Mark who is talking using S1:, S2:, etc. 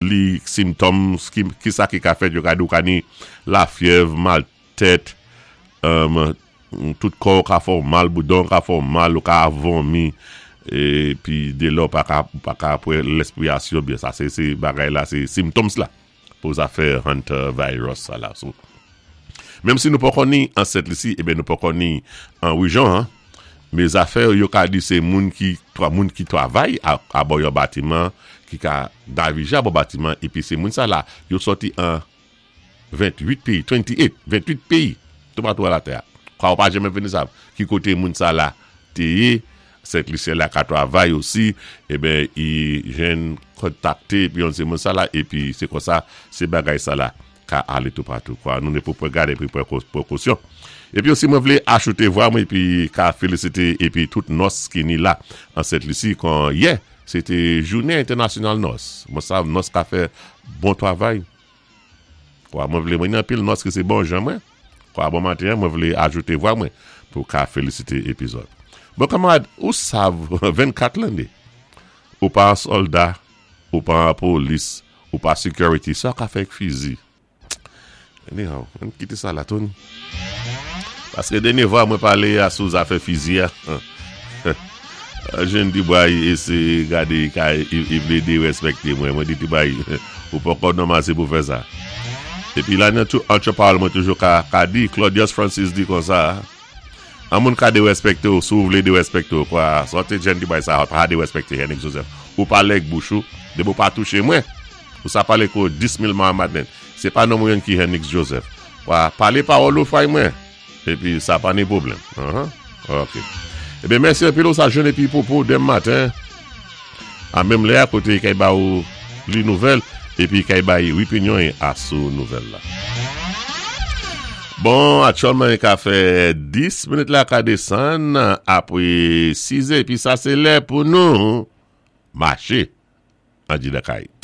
S1: Li symptoms, ki sa ki ka fèt, yo ka di ou ka ni lafyèv, mal tèt, tout kò ou ka fè ou mal, boudan ou ka fè ou mal, ou ka vomi, epi de lè ou pa ka, ou pa ka pran lespirasyon byen. Sa se se bagay la, se symptoms la pou zafè hantavirus sa la. So, menm si nou poko ni an Sent Lisi, eben nou poko ni an Rijon an, Men zafè yo ka di se moun ki moun ki travay abò yon batiman ki ka davije abò batiman epi se moun sa la yo sòti an 28 peyi 28 28 peyi toupatou a latè a kwa ou pa janmen vini sav ki kote moun sa la te ye Sent Lisyen la ka travay osi eben i jwenn kontakte epi yon se moun sa la epi se konsa se bagay sa la. Ka ale toupatou kwa. Nou ne pou pran gad epi pran prekosyon. Epi osi mwen vle achoute vwa mwen epi ka felisite epi tout nòs ki ni la an Sent Lisi kon yè se te jounen entènasyonal nòs. Mwen sav nòs ka fè bon travay kwa. Mwen vle mwen ni anpil nòs ki se bon jan mwen kwa. Bon maten an mwen vle ajoute vwa mwen pou ka felisite epi zòt. Bon kanmarad ou sav 24 lane ou pa an sòlda ou pa an polis Ou pa security sa w ka fè ak fizi. Anyhow, ann kite sa la Tony. Paske dènye vwa mwen pale a sou zafè fizi a. Jèn di bway eseye gade ka i vle derespekte mwen. Mwen di ti bway ou poko nòmal se pou fè sa. Epi la nan tou antre pawòl mwen toujou ka di Claudius Francis di konsa. An moun ka derespekte w si w vle derespekte w kwa sa w te jen di bay sa pa derespekte Hennick Joseph ou pale ak bouch ou depi w pa touche mwen ou sa pale kou 10000 Mahamadnen se pa nonm ou yon ki Hennick Joseph kwa pale pawòl ou fay mwen epi sa pa ni pwoblèm anhan ok ebyen mèsi anpil ou sa jwenn epi popo dem maten a menm lè a kote kay ba ou li nouvèl epi kay bay wipinyon a sou nouvèl la. Bon, aktyèlman e ka fè 10 minit la ka desann apre 6 è epi sa se lè pou nou mache andidan kay.